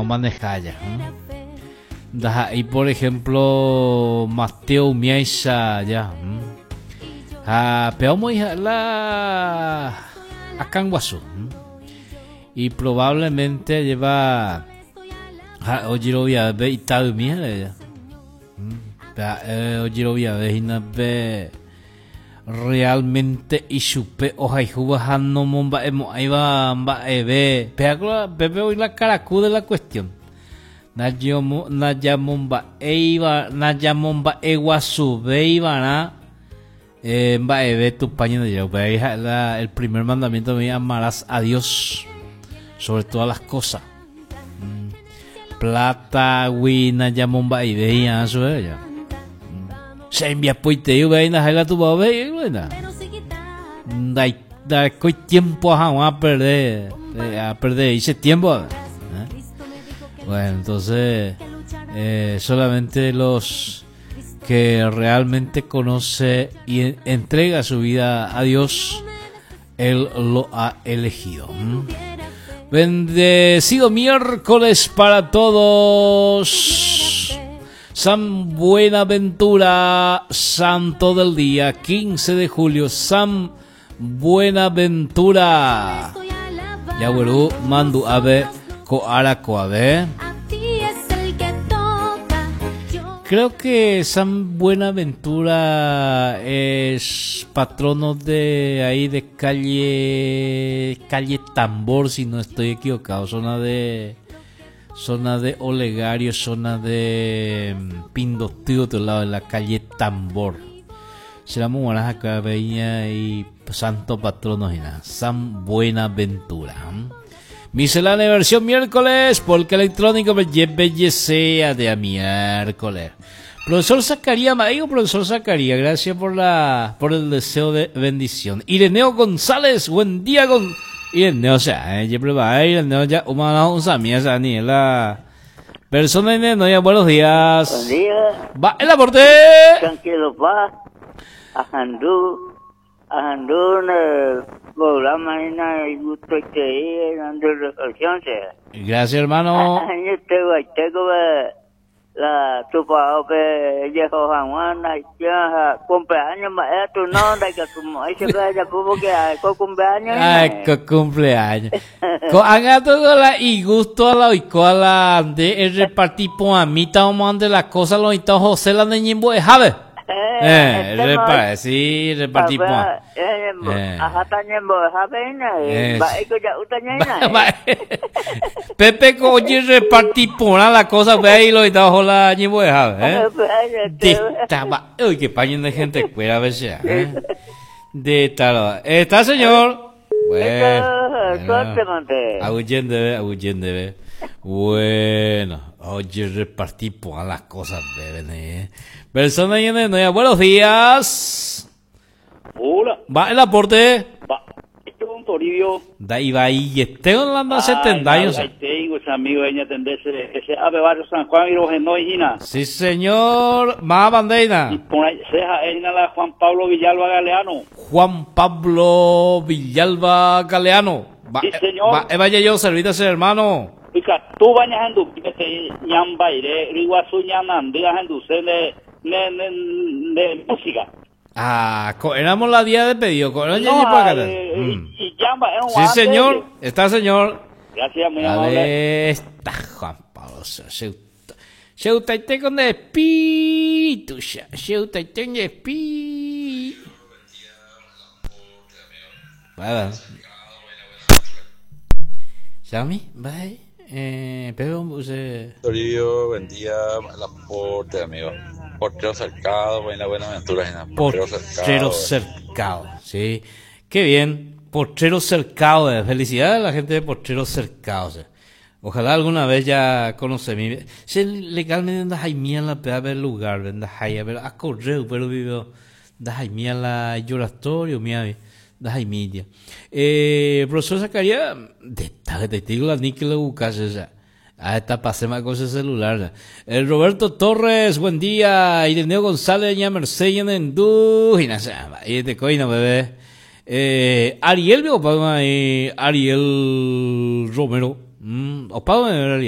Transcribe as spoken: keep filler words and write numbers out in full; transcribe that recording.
Maneja y por ejemplo Mateo Miaisa ya ha peomo hija la Akanguasu y probablemente lleva ojerovia be itaumi ya ojerovia be hina be realmente ichupe ohayhúva ha nomomba'emo'ãiva mba'eve péako pépe oĩ la karaku de la cuestión najamomba'éiva najamomba'eguasuvéivarã eh, mba'eve Tupã Ñandejára upéi ha'e la el primer mandamiento me amarás a Dios sobre todas las cosas mm. Plata-gui najamomba'eivéi'arã chupe ja che hembiapoitei upéi ndaha'éi la tupãópe buena ndarekói tiempo hag̃ua a perder a perder ese tiempo ¿eh? Bueno, entonces eh, solamente los que realmente conoce y entrega su vida a Dios, Él lo ha elegido. ¿Mm? Bendecido miércoles para todos. San Buenaventura, santo del día, quince de julio, San Buenaventura. Yaguerú, Mandu Ave, Koara Koave. Creo que San Buenaventura es patrono de ahí de calle calle Tambor, si no estoy equivocado, zona de zona de Olegario, zona de Pindotí, otro lado de la calle Tambor. Será muy buena acá, veía y santo patrono y nada, San Buenaventura. Miscelánea versión miércoles, porque electrónico me sea de a miércoles. Profesor Zacarías, digo profesor Zacarías, gracias por la por el deseo de bendición. Ireneo González, buen día con Ireneo, o sea, eh, Ireneo ya una un samia la persona Ireneo, ya buenos días. Buen día. Va el aporte. Tranquilo, va. Ahandú, ahandú programa y gusto que dando reflexión. Gracias, hermano. La tupa pe yeho Juan ya cumpleaños ma tu no de que tu mo ese pe ya pupo que ko cumpleaños. Ay, ko cumpleaños. Ko haga todo la y gusto a la oiko a la de el repartir poamita o mande la cosa lo y José la de ñimbo jave. Eh, repara, sí, repartí po. Pepe ko oye repartí por la cosa ve ahí lo y la ñimbo eh. De taba, uy, qué paño de gente cuera a veces, eh. De tal. Está señor. Bueno. Aguyende, aguyende. Bueno, oye, repartí por las cosas, bebé. Eh. Persona y en buenos días. Hola. Va el aporte. Va. Este es un Toribio. Da iba y este con la setenta años. Ahí tengo ese amigo ella atendese ese ave barrio San Juan y los Genoina. Sí, señor. Más bandeina. Y por ahí ceja ella la Juan Pablo Villalba Galeano. Juan Pablo Villalba Galeano. Va, sí, señor. Va, vaya yo, servídase, hermano. Oiga, tú bañas en tu ñambaire, riguazú ñanandía en tu de de, de, de música. Ah, éramos la día de pedido. No, no, eh, mm. y, y llama, sí, señor. Está, señor. Gracias, muy amable. Está Juan Pablo. Se usted con espíritu. Se usted con espíritu. Bueno. Sammy, bye. Eh, pero usted... Toribio, buen día, el aporte, amigo. Portero Cercado, buena Buenaventura. Portero Cercado. Portero Cercado, sí. Qué bien. Portero Cercado, eh. Felicidades a la gente de Portero Cercado. O sea. Ojalá alguna vez ya conoce mi. Se legalmente anda jaimía la pea del lugar, anda jaimía, pero a correo, pero vivo da jaimía la lloratorio, mía, da jaimía. Eh, profesor Zacarías, de te digo la níquel buscas esa. Ah, esta pasema cosa celular. El Roberto Torres, buen día. Ireneo González, ña Mercedes, Nendú. Y te coina, bebé. Eh, Ariel, Ariel Romero. Mm, Ariel.